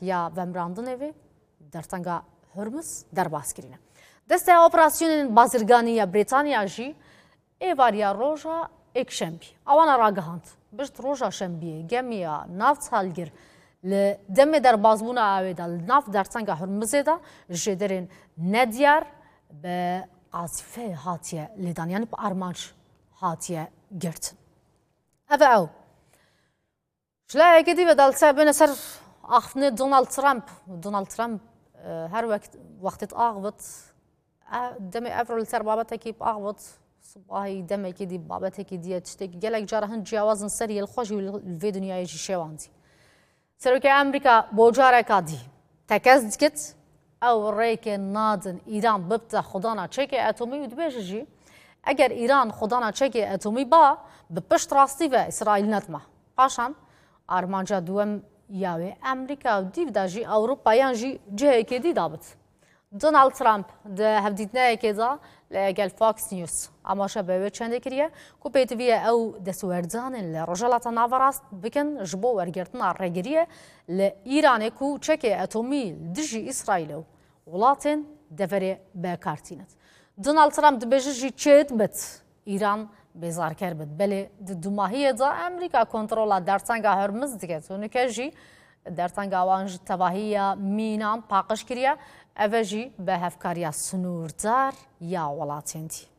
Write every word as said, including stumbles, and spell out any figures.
ya vemirandinê vê dertenga Hurmuz derbas kirîne. Desteya Operasyonên Bazirganî ya Brîtanya jî êvariya roja êkşembî awana ragihand, pişt roja şembiyê gemiya navthalgir li demê derbasbûna awê de li nav dertenga Hurmizê de ji jêderên nediyar bi qazîfeyê hatiye lêdan, yanî bi armanc hatiye girtin. Ev e ew. Ji layekê dî ve de li ser, bêne ser axiftinê Donald Trump. Donald Trump, e, her wek, wextê axivit, e, demê evro li ser babetekî axivit, sibahî demekî dî, babetekî dî ye, tiştekî gelek cara hin ciyawaz in ser yê, li xwe jî li vê dinyayê jî şewandî. Serokê Amerîka bo careka dî tekez dikit, ew rêkê nadin Îran bibte xwedana çekê etomî û dibêje jî, eger Îran xwedana çekê etomî ba, bi pişt rastî ve Îsraîl nedima. Paşan armanca duwem ya wê Amerîka û dîv de jî Ewropa yan jî cihekê dî dabit. Donald Trump di hevdîtineyekê de li gel Fox News amaje bi wê çendê kiriye ku pêdiviye ew destwerdanên li Rojhilata Naverast bikin ji bo wergirtina rêgiriyê li Îranê ku çekê etomî li dijî Îsraîlê û welatên deverê bi kar tînit. Donald Trump dibêje jî çêdibit Îran bêzarker bit. Belê di dumahiyê de Amerîka kontrola dertenga Hormuz diket û nike jî dertenga wan ji tevahiya mînan paqij kiriye. Ev e jî bi hevkariya sinûrdar ya welatên dî.